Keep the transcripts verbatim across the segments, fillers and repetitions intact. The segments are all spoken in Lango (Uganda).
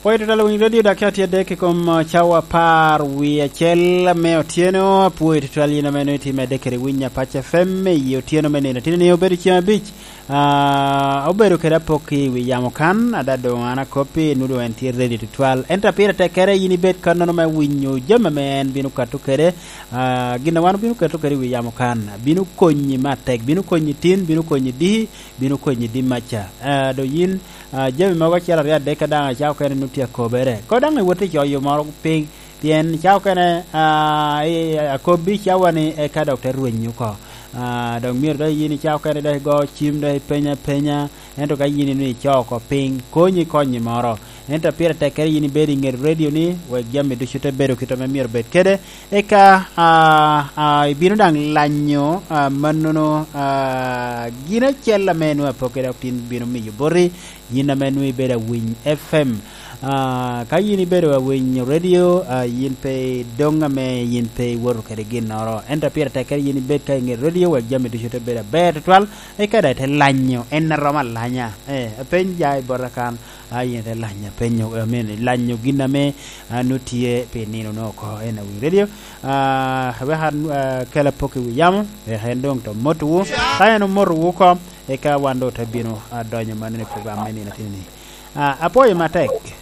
Pwoyo tutwal winy radio dok atye adek i kom, uh, cawa apar wie acel me otyeno. Apwoyo tutwal yin ame nongo itye medde kede winy Apac F M i otyeno me nino. Tino ni obedo ceng abic, ah, obedo kede apok i wi yamo kan, ada doŋ an akoppi, nwodo en tye ready tutwal. Ento pire tekkere yin ibed kannono me winyo jami ame en bino kato kede, ah, gin a wan obino keto kede i wi yamo kan. Bino konyi me atek, bino konyi tin, bino konyi diki, bino konyi dimaca. Ah, do yin, ah, jami mogo acel aryo adek ka daŋ acako kene nut tye akobere. Ko daŋ iwot i coyo moro piny, pien ca okene, ah, i, akobbi cawa ni eka dok te rweny oko. Ah, dok myero dok yin i ca okene dok igo cim, dok ipenya apenya, ento ka yin inwongo ico oko piny, konyi konyi moro. Ento pire tekkere yin ibedo i nget redio ni, wek jami ducu te bedo kit ame myero bed kede. Eka, ah, ah, ibino daŋ lanyo, ah, mannono, ah, gin acel ame nwoŋo apok kede dok tin bino miyo boti, yin ame nwoŋo ibedo awiny F M. Ah, ka yin ibedo awiny radio, ah, yin pe doŋ ame yin pe iwoto kede ginnoro. Ento pire tekkere yin ibed ka i nget radio wek jami ducu te bedo aber tutwal, eka daŋ ite lanyo en a romo alanya. Eh, apeny ja i bota kan, a yin ite lanya penyo, I mean, lanyo gin ame, ah, nwoŋo tye pi nino nwoŋo oko en awiny radio. Ah, wek an, ah, kel apok i wi yamo, wek en doŋ to motowu. Ka en omotowu oko, eka wan doŋ te bino, ah, donyo mannono i program me nino atini-ni. Ah, apwoyo matek.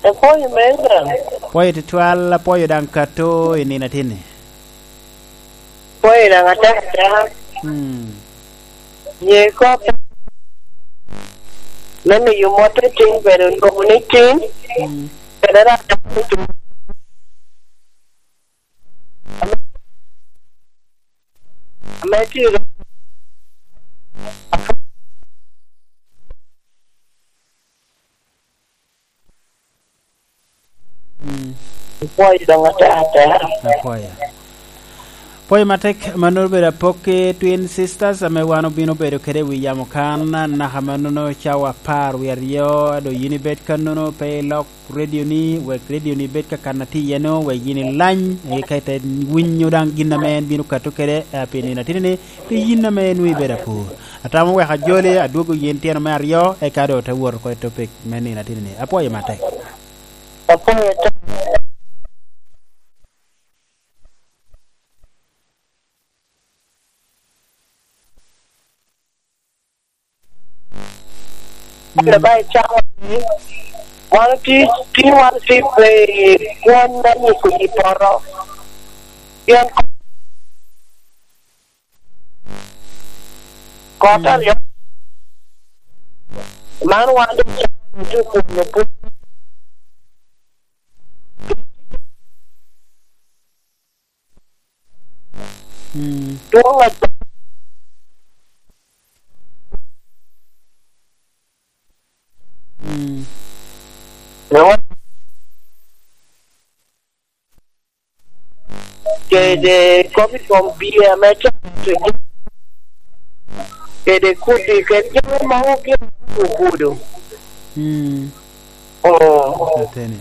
Apwoyo me Abraham. Apwoyo tutwal, apwoyo daŋ kato i nino atini. Apwoyo daŋ atek ateka. Hmm. Ye kop me miyo mot i tin, bedo lwoŋo ni tin, hmm, kede rak dano me tin. Ame, ame tye i Mm. Apwoyo doŋ atek atek. Apwoyo. Apwoyo matek, mannono obedo apok ki Twin Sisters ame wan obino bedo kede i wi yamo kan, naka mannono cawa apar wie aryo, a doŋ yin ibed kannono pe ilok radio ni, wek radio ni bed ka kan atye iye-nu, wek yin ilany, eka ite winyo daŋ gin ame en bino kato kede, eh, pi nino atini-ni, pi yin ame nwoŋo ibedo apur. Atamo wek ajoli, adwogo yin tyeno me aryo, eka doŋ te wot oko i topic me nino atini-ni. Apwoyo matek. Apwoyo atek. Mm. Ento ba icako ni, wan otye, tye wan otye pe i kwony me nyiko yi poto. Pien kot, mm, aryo, man wan doŋ cako ni tye okunyo piny. Mm. Dwoŋ a-, mm. Kede kop i kom bia me cato, kede kudi, kede jami mogo gin ogudo. Mm. Oh. Ateni.